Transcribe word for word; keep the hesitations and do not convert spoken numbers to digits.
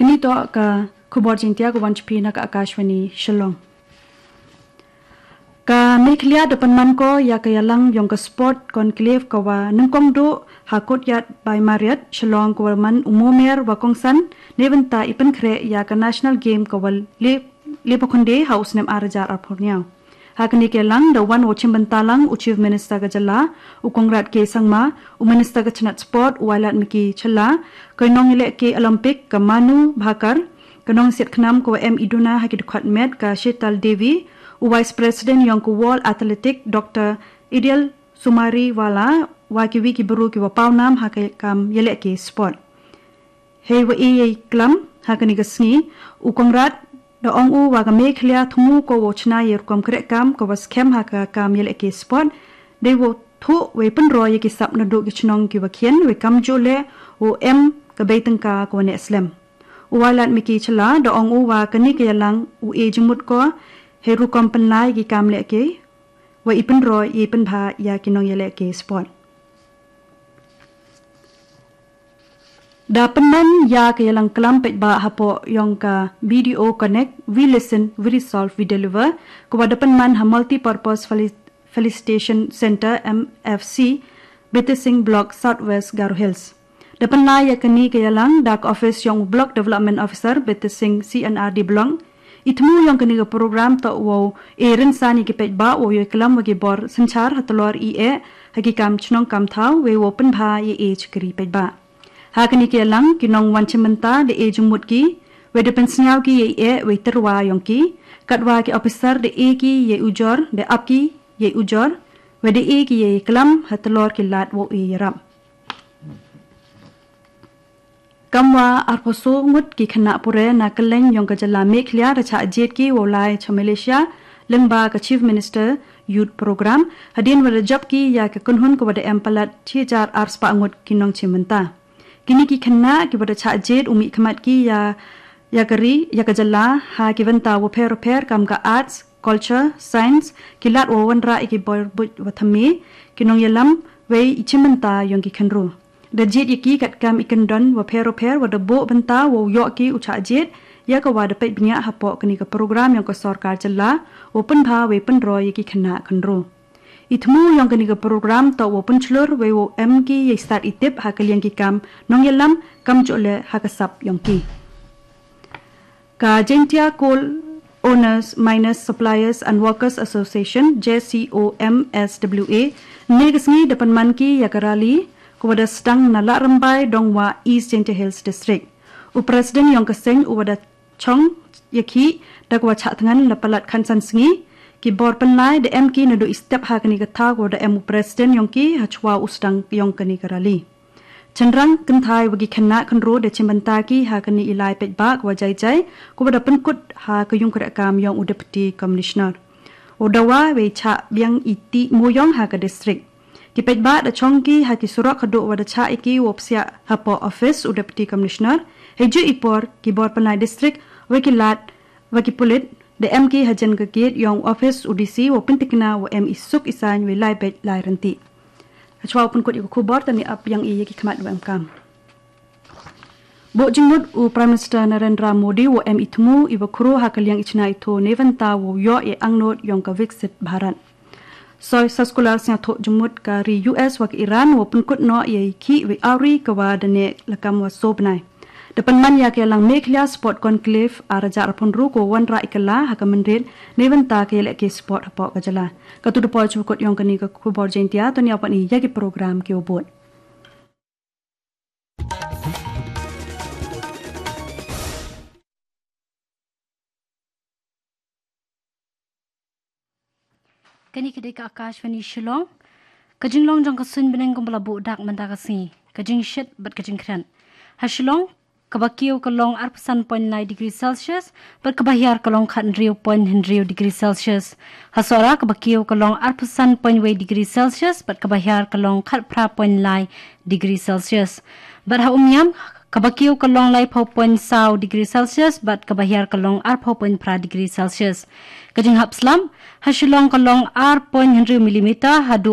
Ngi to ka khubor Jaiñtia ka wan sha phi na ka Akashvani Shillong. Ka Meghalaya da pynman ko ïa ka ïalang yong ka Sport Conclave ka wa nyngkong duh ha Courtyard by Marriott Shillong ka wa man u Momer wa kongsan, ne bynta i pynkhreh ïa ka National Game ka wa le, le ba khynde ha u snem ar hajar arphew hynñiew. Ha kane ka ïalang da wan wow shim bynta lang u Chief Minister ka jylla, u Conrad K Sangma, u Minister ka tnat Sport, u Wailadmiki Shylla, ka nongïalehke Olympic ka Manu Bhaker, ka nongsiat khnam ka wa em i duna ha ki dkhot met ka Sheetal Devi, u Vice President yong ka World Athletic Doctor Idil Sumariwala, wa kiwi ki bru ki wa pawnam ha ka kam ïalehke sport. Hei wa ïaklam ha kane ka sngi, u Conrad da ong u wa ka Meghalaya thmu ko wow shna ïa i rukom krehkam ka wa skhem ha ka kam ïalehke sport, dei wow thuh wei pynroi ïa ki sap naduh ki shnong ki wa khian, wei kamjooh leh wow em ka bei tyngka ka wa neh slem. U Wailadmiki Shylla da ong u wa kane ka ïalang u e jingmut ko hei rukom pynlai ki kam lehke, wa i pynroi i pynbha ïa ki nongïalehke sport. Da pynman ïa ka ïalang klam paidbah hapoh yong ka B D O Connect, We Listen, We Resolve, We Deliver, ka wa da pynman ha Multipurpose Feli-, Felicitation Center, M F C, Betesing Block, South West Garo Hills. Da pynlai ïa kane ka ïalang da ka office yong u Block Development Officer, Betesing C and R D Block. I thmu yong kane ka program toh wow e rynsan ïa ki paidbah wow ïaklam wa ki bor synshar ha tlor i eh ha ki kam shnong kam thaw, wei wow pynbha ïa i shakri paidbah. Ha kane ka ïalang ki nongwan shim bynta da e jingmut ki, wei da pynsngew ki ïa i eh wei tyrwa yong ki, katwa ki officer da e ki ïa i ujor, da ap ki ïa i ujor, wei da e ki ïa i klam ha tlor ki lad wow e ïarap. Kam wa arphew soo ngut ki khynnah pure na kylleng yong ka jylla Meghalaya da shah jied ki wow lai sha Malaysia lyngba ka Chief Minister Youth Program, hadien wa da jop ki ïa ka kynhun ka wa da em palat shi hajar ar spah ngut ki nongshim bynta. Kine ki khynnah ki wa da shah jied u mihkhmat ki ïa, ïa ka ri, ïa ka jylla ha ki bynta wa pher wa pher kam ka arts, culture, science, ki lad wa wanrah ïa ki bor buit wa thymme, ki nongïalam, wei i shim bynta yong ki khynru. Da jied ïa ki katkam i kyndon wa pher wa pher wa da buh bynta wow ïoh ki u shah jied ïa ka wa da peit bniah hapoh kane ka program yong ka sorkar jylla wow pynbha wei pynroi ïa ki khynnah khynru. I thmu yong kane ka program toh wow pynshlur wei wow em ki ïa i stad i tip ha ka liang ki kam nongïalam kamjooh leh ha ka sap yong ki. Ka Jaintia Coal Owners, Miners, Suppliers and Workers Association, J C O M S W A, ne ka sngi da pynman ki ïa ka rally ka wa da sdang na Lahrymbai, Dongwah, East Jaintia Hills District. U President yong ka seng u wa da chong ïa ki da ka wa chah thngan la palat khatsan sngi. Ki bor pynlai da em ki naduh i step ha kane ka thaw ka wa da em u President yong ki ha chwa u sdang yong kane ka rally. Chynrang kynthai wa ki khynnah khynru da shim bynta ki ha kane i lai paidbah ka wa jai jai, ka wa da pynkut ha ka ïung kreh kam yong u Deputy Commissioner. U dawa wei chah biang i tih mooyong ha ka district. Ki paidbah da chong ki ha ki surok haduh wa da chah ïa ki wow psiah hapoh office u Deputy Commissioner. Hei ju i por ki bor pynlai district, wa ki lad, wa ki pulit, da em ki hajan ka gate yong office u D C wow pyntikna wa em i suk i saiñ wei lai beit lai rynti. Hashwa u pynkut ïa ka khubor, tang ni ap biang i ïa ki khmat wa em kam. Buh jingmut u Prime Minister Narendra Modi wa em i thmu i wa khru ha ka liang i chna i tho ne bynta wow ïoh i angnud yong ka Viksit Bharat. Soi saskular sngewthuh jingmut ka ri U S wa ka Iran wa pynkut noh ïa i khih wei awri ka wa da neh lakam wa soo bnai. Da pynman ïa ka ïalang Meghalaya Sport Conclave ar hajar arphew hynriew ka wa wanrah i kylla ha ka mynried ne bynta ka ïalehke sport hapoh ka jylla. Katu da poi shu kut yong kane ka khubor Jaintia, to ngin ïa wan i ïa ki program ki wa bud. Kane ka dei ka Akashvani Shillong. Ka jinglong jong ka suiñ bneng kumba la buh dak mynta ka sngi. Ka jingshit bad ka jingkhriat. Ha Shillong, kaba kiew ka long arphew san point lai degree Celsius, bad kaba hiar ka long khathynriew point hynriew degree Celsius. Ha Sohra, kaba kiew ka long arphew san point wei degree Celsius, bad kaba hiar ka long khatphra point lai degree Celsius. Bad ha Umiam, kaba kiew ka long laiphew point saw degree Celsius, bad kaba hiar ka long arphew point phra degree Celsius. Ka jinghap slam, ha Shillong ka long ar point hynriew millimeter, haduh